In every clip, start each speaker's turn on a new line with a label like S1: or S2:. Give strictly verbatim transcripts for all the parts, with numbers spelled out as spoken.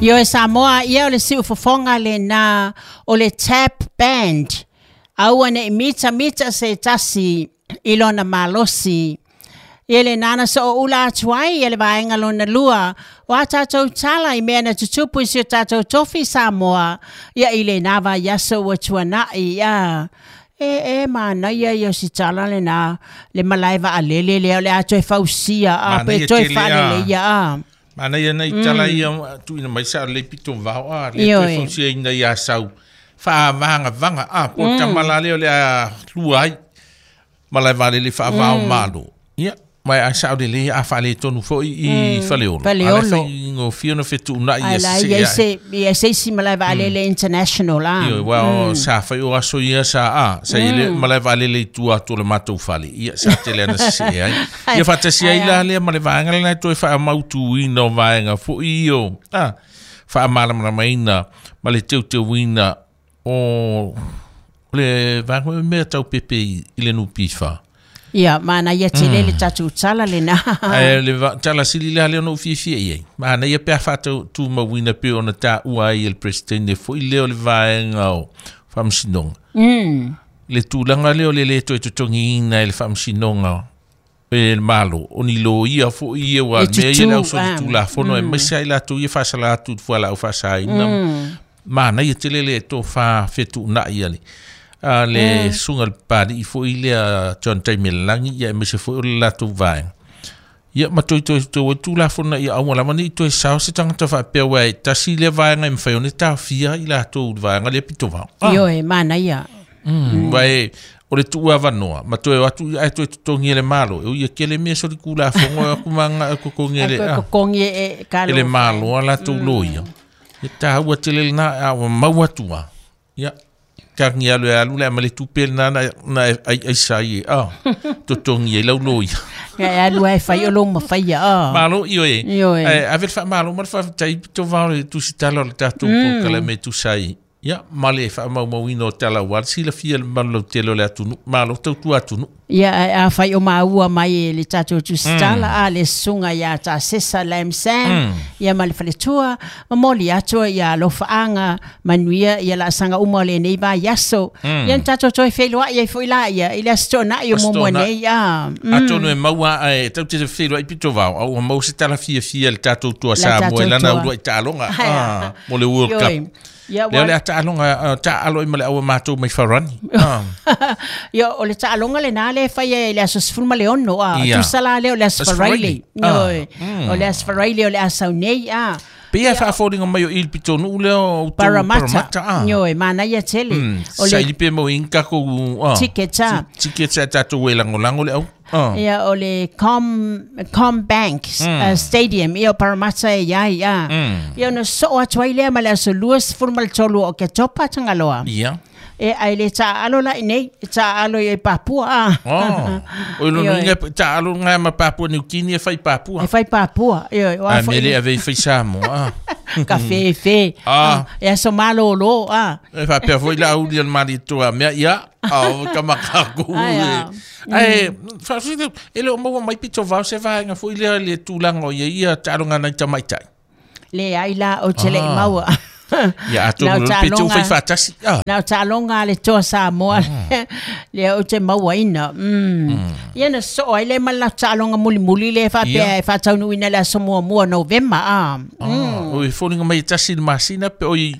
S1: Io e Samoa, ia o le siufofoga lena o le Tap Band. Aua ne i mita mita se tasi i lona malosi. Ia le nana so o ula atu ai ia le vaega lona lua. O a tātou tala i mea na tutupu i si o tātou tofi Samoa. Ia i le nā vaiaso ua tuanai ia. E e manaia ia o si tala le nā le malae vaalele lea o le a toe fausia a pe
S2: Manaia
S1: toe
S2: tele a.
S1: faaleleia a.
S2: Manaia nei tala ia tuuina mai sa le pito vao a le
S1: Ioe.
S2: toe fausiaina ia sau faavagavaga a po o tama la lea o le a lua ai malae vaalele faavao malo. Ia ma a sao lelei a faaletonu foi i Faleolo.
S1: Faleolo.
S2: A le faigofie ona fetuunai
S1: Ai
S2: ia
S1: la
S2: sesee
S1: ia
S2: ai.
S1: se ia se isi malae vaalele international a.
S2: Ioe, ua o sa fai o aso ia sa a sa i le malae vaalele i tua atu o le matou fale ia sa tele ana sesee ai. Ia faatasi ai la lea ma le vaega lena e toe faamautuina o vaega foi o a faamalamalamaina ma le teuteuina o le vaega o mea tau pepe i i le N P F.
S1: Ia, manaia tele le tatou tala lena.
S2: Ae le va- tala sili la lea ona ou fiafia i ai. Manaia pe a faatumauina pe ona taua ai e le presidente foi lea o le vaega o faamasinoga.
S1: Mm.
S2: Le tulaga lea o le le toe totogiina e le faamasinoga e le malo, o ni loia foi ia ua
S1: E
S2: mea ia le
S1: tutu,
S2: ausoli
S1: ah.
S2: tulafono e maise ai latou ia faasala atu i le fualaau faasaina. Manaia tele le tofa fetuunai a le a le susuga le Papalii foi lea John Taimelalagi ia aemaise foi o le latou vaega. Ia ma toe toe toe tulafono ia aua lava nei toe sao se tagata faapea ua e tasi lea vaega e mafai ona taofia i latou i le vaega lea pito vao. Ah.
S1: Ioe, manaia.
S2: Mm. Vai o le tuu avanoa ma toe o atu ai toe totogi e le malo. E ui e kele mea so le kulafono e aku manga e kokongi e le
S1: Ai
S2: a.
S1: kokongi e kalo.
S2: E le malo a latou loia. E tāua tele lena a ua mau atu a. Ia, tangi alu e alu le ama le tupe lena na, na ai, ai sai e. Ah, totogi e lau loia.
S1: Ia e alu ai fai o lo mawhaia, ah.
S2: Malo, ioe.
S1: Ioe.
S2: Eh, ave le faamalo ma le faafetai pito vao le tusitala o le tatou polokalame tusa ai. Ia, ma le faamaumauina o tala ua le silafia le mamalu lautele o le atunuu. Malo tautua atunuu.
S1: Ia, a, a fai o maua mai e le tatou tusitala, a le susuga ia Tasesa Lam Sam, ia ma le faletua, momoli atu ia alofaaga, manuia ia laasaga uma o lenei vaiaso. Ia na tatou toe feiloai ai foi la ia, i le aso toonai o
S2: Aso
S1: muamua
S2: toonai.
S1: nei, a. Mm.
S2: Atonu e maua e tau te feiloai pito vao, au ua maua se tala fiafia le tatou tua
S1: La
S2: Samoa
S1: tatou
S2: i lana
S1: toa.
S2: uluai taaloga,
S1: Ai,
S2: ah, mo le World
S1: Ioe.
S2: Cup.
S1: Ia,
S2: Lea o le
S1: ua-
S2: a taaloga, ah, taalo ai ma le aua matou mai farani. Ah.
S1: Ia, o le taaloga lena le fai e le aso sefulu ma le ono, a.
S2: Ia.
S1: Tusa la lea o le aso
S2: Aso
S1: Faraile.
S2: Faraile. Ah.
S1: Ioe. O le aso Faraile o le asau nei, a.
S2: Pe ia faafofoga mai o i le pitonuu lea o outou
S1: Parramatta.
S2: Parramatta, ah.
S1: Ioe, manaia tele.
S2: Mm,
S1: O le
S2: saili pe mau inga takou, ah,
S1: Tickets, ah.
S2: ti- tickets a tatou e lagolago le au. Ah.
S1: Ia, o le Com, Com Bank mm. uh, Stadium, ia o Parramatta e iai, a.
S2: Mm.
S1: Ia, ona soo atu ai lea ma le aso lua sefulu ma le tolu o Oketopa Tagaloa.
S2: Ia.
S1: E ai le taalo la i nei, e taalo i Papua, a.
S2: Oh. O lo
S1: Ioe.
S2: inga taalo nga ma Papua New Guinea e fai Papua.
S1: E fai Papua, ioe, o a
S2: A
S1: foi
S2: mele ave i fai Samoa. Ah.
S1: ka fefe.
S2: Ah.
S1: E aso malolo, a.
S2: E faapea foi la auli o le malietoa mea ia ao kamakakou
S1: Ai, ah.
S2: Ae faafetai e le o maua mai pito vao se vaega foi lea le tulaga o ia ia taaloga nai tamaitai.
S1: Le ai la o te le
S2: Ah.
S1: maua.
S2: Ia
S1: Na
S2: atonu
S1: o
S2: le pe te
S1: taaloga-
S2: ufai faatasi. Ah.
S1: Na o taaloga a le toa Samoa lea ou te mauaina. Mm. Ia na soo ai le ma la taaloga mulimuli le faapea
S2: Ia.
S1: e faataunuuina le aso muamua Novema a.
S2: Ah, o e foliga mai e tasi le masina pe oi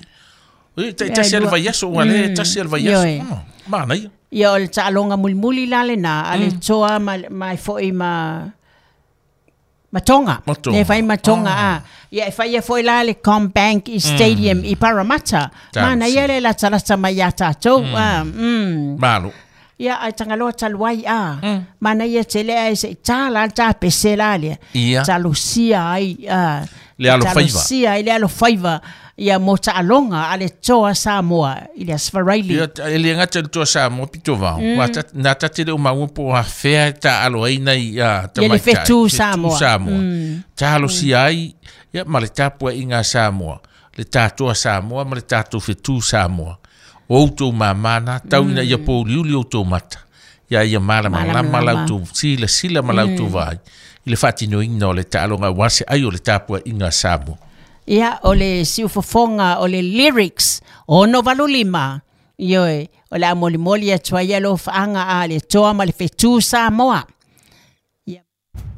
S2: oi tai tasi a le
S1: lua.
S2: vaiaso ua le tasi a le vaiaso.
S1: Ioe.
S2: Ah, manaia.
S1: Ia o le taaloga mulimuli la lena a le toa ma ma e foi ma ma Tonga.
S2: Ma Tonga.
S1: Le fai ma Tonga a. Ia e fai foi la le CommBank i Stadium i Parramatta.
S2: Talosia.
S1: Manaia le latalata mai ia tatou a. Mm.
S2: Malo.
S1: Ia ai Tagaloa talu ai a. Manaia tele ai se tā la tā pese la lea.
S2: Ia.
S1: Talosia ai a.
S2: Le alofaiva.
S1: Talosia ai le alofaiva. Ia mo taaloga a le toa Samoa i le Aso Faraile.
S2: Ia e le gata le toa Samoa pito vao. Ua ta- na tate le o maua po o afea e taalo ai nai a
S1: Ia le
S2: tamaitai.
S1: fetu Samoa.
S2: Samoa. Talosia ai ia ma le tapuaiga a Samoa. Le tatoa Samoa ma le tatou fetu Samoa. O outou mamā tau ina ia pouliuli outou mata. Ia ia malamalama
S1: Malamalama.
S2: lautou silasila ma lautou vaai. I le faatinoina o le taaloga aua se ai o le tapuaiga a Samoa.
S1: Ia o le siufofoga o le lyrics ono valu lima. Ioe, o le a molimoli atu ai alofaaga a le Toa ma le Fetu Samoa.